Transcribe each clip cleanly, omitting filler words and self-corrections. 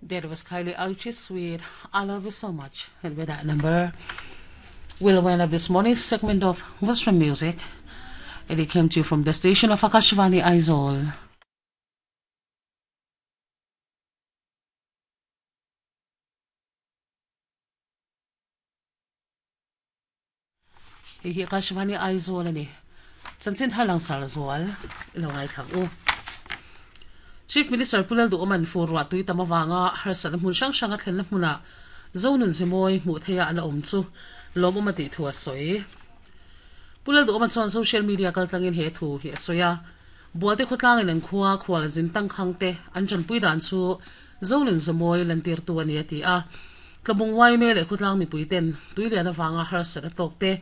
That was Kylie Auchi with I Love You So Much. And with that number, we'll wind up this morning's segment of Western Music. And it came to you from the station of Akashvani Aizawl. Hei hi Akashvani Aizawl a ni. Chanchin thar langsar zual i lo ngaithla ang u. Chief Minister Pu Lalduhawman fur ruah tui tam avanga harsatna hmun hrang hranga thlenna hmunah Zonun Zemawi hmuh theiha a la awm chu lawmawm a tih thu a sawi. Pu Lalduhawma chuan social media kaltlangin he thu hi a sawi a, Bualte khawtlangin an khua khual zin tangkhang te an tanpui dan chu Zonun Zemawi lantirtu a ni a ti a. Tlabung Waime leh khawtlang mipui ten tuilian avanga harsatna tawk te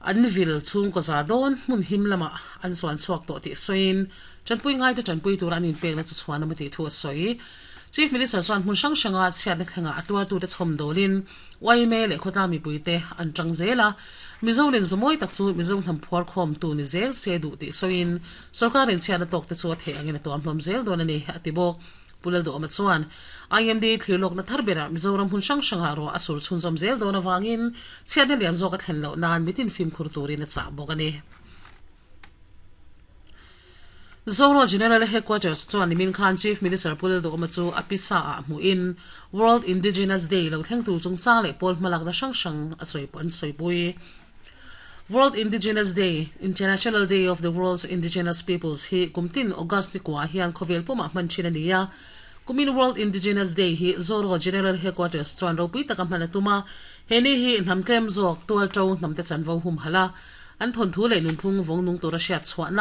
an vil chhungkaw za dawn hmun him lamah an zuan chhuak tawh tih sawiin tanpui ngaite tanpui tura an inpekna chu chhuan awm a tih thu a sawi. Chief Minister chuan hmun hrang hranga chhiatna thlengah a tuartute chhawm dawlin yma leh khawtlang mipuite an tang zel a, Mizo len zumawi tak chu Mizo hnam phuar khawmtu ni zel se duh tih sawiin sorkarin chhiatna tawkte chu a theih angin a tuam hlawm zel dawn a ni, a ti bawk. Pu Lalduhawma chuan IMD thlirlawkna thar berah Mizoram hmun hrang hrangah ruah a sur chhunzawm zel dawn avangin chhiatna lian zawk a thlen loh nan mitin fimkhur turin a chah bawk a ni. Zoro General Headquarters chuan nimin khan Chief Minister Pu Lalduhawma chu a pisa ah hmuhin World Indigenous Day lo thleng tur chungchang leh pawl hmalakna hrang hrang a sawi an sawipui. World Indigenous Day, International Day of the World's Indigenous Peoples, hi kum tin August ni kuah hian khawvel pumah hman thin a ni a. Kumin World Indigenous Day hi Zoro General Headquarters chuan ropui taka hman a tum a. He ni hi hnam tlem zawk tual to hnamte chanvo humhalh a, an thawnthu leh nunphung vawng nung tura hriat chhuahna.